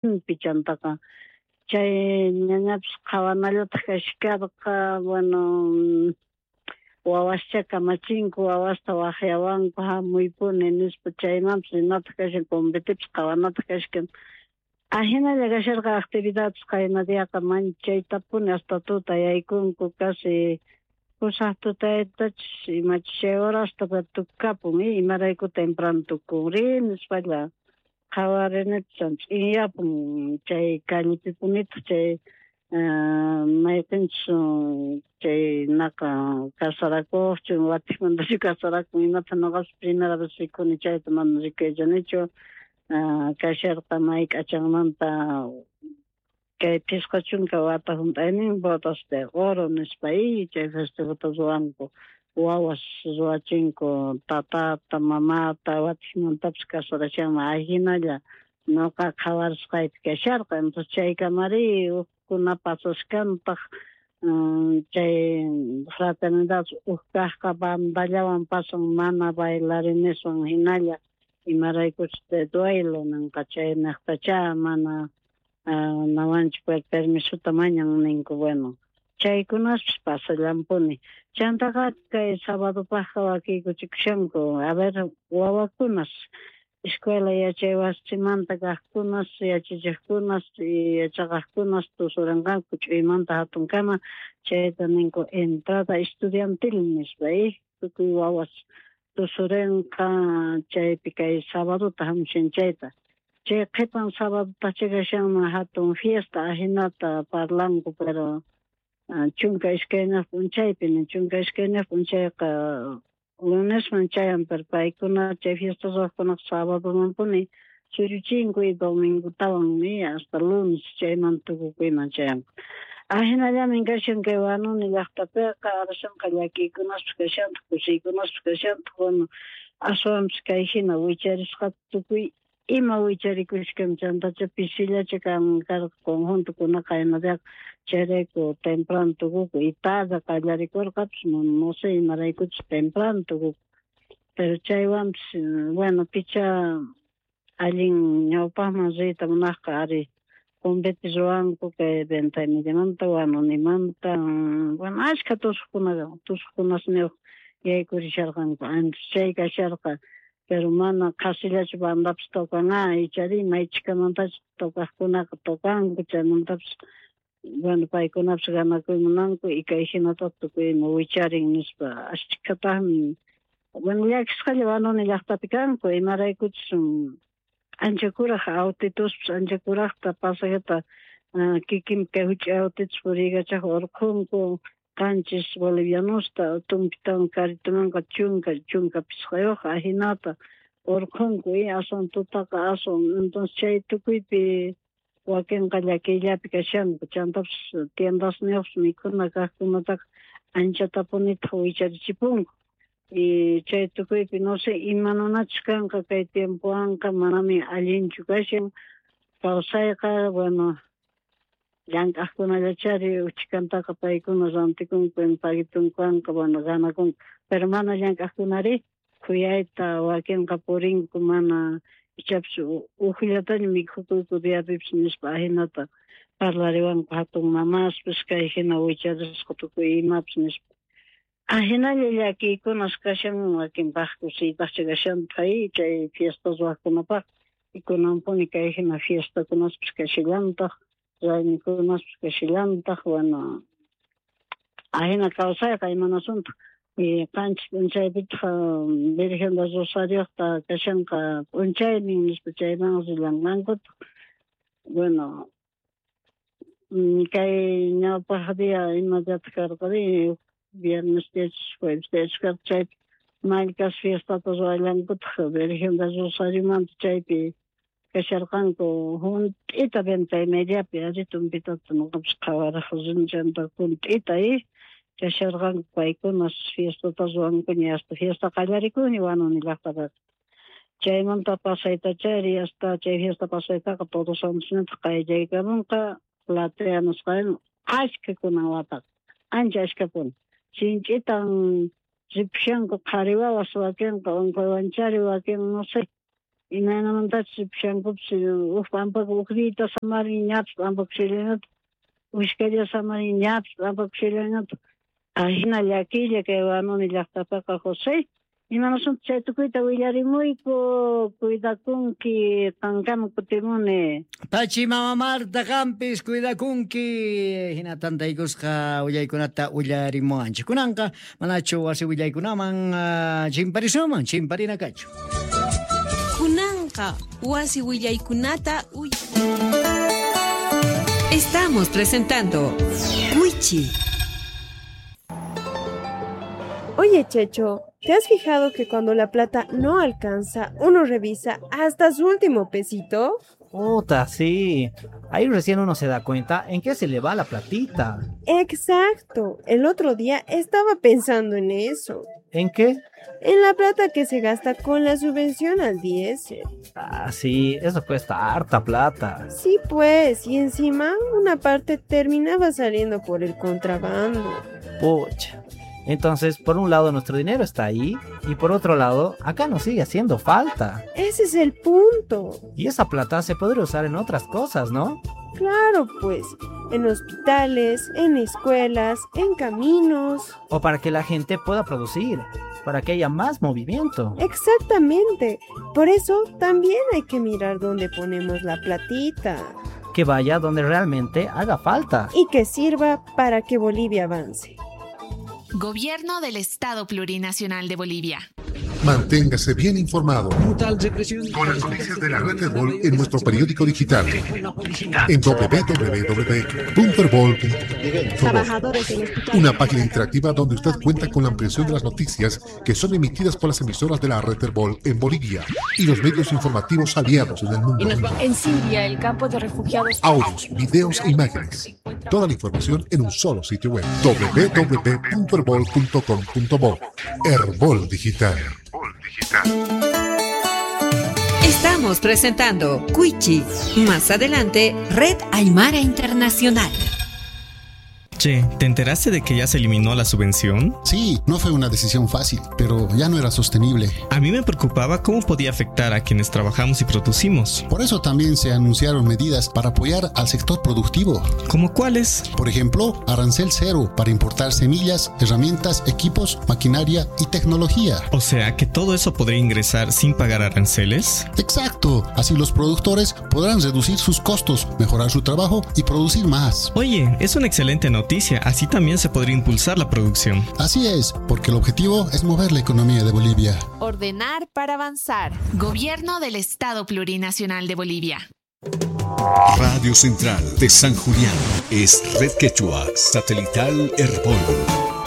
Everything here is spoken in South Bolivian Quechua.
Chantaqa chay ñañapis qhawanallataj kashkarqa. Bueno, wawascha kamachinku, wawasta wajyawanku jamuypuni nispa, chaymanpis rinataq kashan, convitepis qhawanataj kashkan. Ajinalla kasharqa actividades qayna diaqa manchaytapuni hasta tuta yaykunku, casi pusaj tutaytachus imachus chay horasta tukapun, imarayku temprano tukunri nispalla qhawarinipis ch'inyapun chay callepipunitaq chay mayqinchus chay naqa casarakuqchu watijmantachu casarakun imata noqapis primera vez rikuni chayta mana rikuychanichu. Kasharqa may k'achanmanta kay 50 wata junt'aynin bodas de oro nispa chay festivota ruwanku, wawas ruwachinku tatata mamata watijmantapis casarashanman ajinalla noqa qhawarisqaypi kasharqa. Entonces chaykamari ujkuna pasashkantaq chay fraternidad uj kajqa bandallawan pasan mana bailarineswan jinalla, imaraykuchus de duelo ninqa chaynejtacha mana nawanchik permisota mañan ninku. Bueno, chaykunaspis pasallampuni. Chantaqa kay sabadopajqa wakiykuchikushanku, a ver, wawakunas escuela yachay wasimanta kajkunas, yachachejkunas y yachaqajkunas tusuranqanku ch'uymanta hatunkama, chayta ninku entrada estudiantil nispa, tukuy wawas tusurenqa chaypi kay sabadota jamushan chayta. Chay qhipan sabadota kashanman hatun fiesta, ajinata parlanku, pero 12 p'unchaypi, 12 p'unchayqa lunesman chayan, pero paykuna chay fiesta ruwaqkunaqa sabadomanpuni suyuchinku y domingotawan hasta lunes chayman tukukuyman chayanku. Ajinallamin kashan kay Huanuni llaqtapiqa, arashanqa llakiykunaspis kashantaq, kusiykunaspis kashantaq. Bueno, aswanpis kay hina wicharisqa tukuy ima wicharikushkan, chantacha pisillacha kan karqa conjuntokunaqa qaynadiaqa, chayrayku temprano tukuku y tarde qallarikurqapis, no sé imaraykuchus temprano tukuku, pero chaywanpis bueno, picha allin ñawpaqman riyta munaqqa ari convite ruwanku kay Venta y Mediamanta, Huanunimanta, bueno, ashkha tusuqkuna tusuqkunasniyuq yaykurisharqanku antes chay kasharqa, pero mana qhasillachu bandapis tocan, ichari may chhikamantachus tocaqkunaqa tocanku, chaymantapis bueno, paykunapis ganakuy munanku y kay hinata tukuy ima wicharin nispa ashkhataqmi. Bueno, llakisqalla Huanuni llaqtapi kanku, imaraykuchus ancha kuraj autituspis ancha kurajta pasajeta kikin kay huch'uy autitus puriykachaj urqhunku 7 bolivianosta tumpitawan carritomanqa 15 ajinata urqhunku y aswan tutaqa aswan. Entonces chay tukuypi wakinqa llakiyllapi kashanku, chantapis tiendasniyuqpis mikhuna kaqkunataqa anchatapunitaq wicharichipunku y chay tukuypi no sé imanunachus kanqa kay tiempowanqa, manami allinchu kashan kawsayqa. Bueno, llank'aqkunallachari uchhikantaqa paykuna rantikunku paguitunkuwanqa, bueno, ganakunku, pero mana llank'aqkunari khuyayta wakinqa purinku, mana ichapis ujllataña mikhukuyku diapipis nispa ajinata parlariwanku hatun mamaspis kay hina wicharisqa tukuy imapis nispa. Ajinalla llakiykunas kashan, wakinpaq kusiypaqcha kashantaq chay fiesta ruwaqkunapaq, y kunanpuni kay hina fiestakunaspis kashallantaq, raymikunaspis kashallantaq. Bueno, ajina kawsayqa, imanasuntaj. Y 7 p'unchaypitaq Virgen del Rosarioqta kashanqa p'unchaynin nispa chayman rillanqankutaq. Bueno, kay ñawpaq día ima diataq karqari, viernes diachus jueves diachus karqa, chaypi mallkas fiestata ruwallankutaq Virgen del Rosariomanta, chaypi kasharqanku junt'ita Venta y Mediapi ari tumpitata noqapis qhawaraq rini, chanta junt'ita kasharqanku paykunas fiestata ruwankuña, hasta fiesta qallarikuña Huanuni llaqtapiqa. Chaymanta pasaytachari hasta chay fiesta pasaytaqa Todos Santosnintaq qayllaykamunqa platea nisqa ashkha kunan wataqa ancha ashkhapuni sinch'itan ripushanku qhari wawas, wakinqa unquywanchari, wakin no sé. Imaynamantachus ripushankupis uj p'ampaka uj diyata samarin ñapis p'ampakushallanataq, ushkalla samarin ñapis p'ampakushallanataq. Ajina llakiylla kay Huanuni llaqtapiqa, José. Imanasunta chay tukuyta willarimuyku, cuidakunki, qankama kutimuni. Pachi mama Marta, qampis cuidakunki, hina tantaykusqa willaykunata willarimuwanchik. Kunanqa manachu wasi willaykunaman chimparisunman, chimparina kachu. Kunanqa wasi willaykunata uy Estamos presentando Wichi. Oye, Checho, ¿te has fijado que cuando la plata no alcanza, uno revisa hasta su último pesito? Puta, sí. Ahí recién uno se da cuenta en qué se le va la platita. Exacto. El otro día estaba pensando en eso. ¿En qué? En la plata que se gasta con la subvención al diésel. Ah, sí, eso cuesta harta plata. Sí, pues, y encima una parte terminaba saliendo por el contrabando. Pucha. Entonces, por un lado nuestro dinero está ahí y por otro lado, acá nos sigue haciendo falta. Ese es el punto. Y esa plata se podría usar en otras cosas, ¿no? Claro, pues, en hospitales, en escuelas, en caminos. O para que la gente pueda producir, para que haya más movimiento. Exactamente. Por eso también hay que mirar dónde ponemos la platita. Que vaya donde realmente haga falta. Y que sirva para que Bolivia avance. Gobierno del Estado Plurinacional de Bolivia. Manténgase bien informado con las noticias de la red Herbol en nuestro periódico digital en www.herbol.com. Una página interactiva donde usted cuenta con la ampliación de las noticias que son emitidas por las emisoras de la red Herbol en Bolivia y los medios informativos aliados en el mundo. En Siria, el campo de refugiados. Audios, videos e imágenes. Toda la información en un solo sitio web: www.herbol.com.bo. Herbol Digital. Estamos presentando Cuichi. Más adelante, Red Aymara Internacional. Che, ¿te enteraste de que ya se eliminó la subvención? Sí, no fue una decisión fácil, pero ya no era sostenible. A mí me preocupaba cómo podía afectar a quienes trabajamos y producimos. Por eso también se anunciaron medidas para apoyar al sector productivo. ¿Cómo cuáles? Por ejemplo, arancel cero para importar semillas, herramientas, equipos, maquinaria y tecnología. O sea, que todo eso podría ingresar sin pagar aranceles. Exacto, así los productores podrán reducir sus costos, mejorar su trabajo y producir más. Oye, es una excelente noticia. Así también se podría impulsar la producción. Así es, porque el objetivo es mover la economía de Bolivia. Ordenar para avanzar. Gobierno del Estado Plurinacional de Bolivia. Radio Central de San Julián es Red Quechua Satelital Herbol.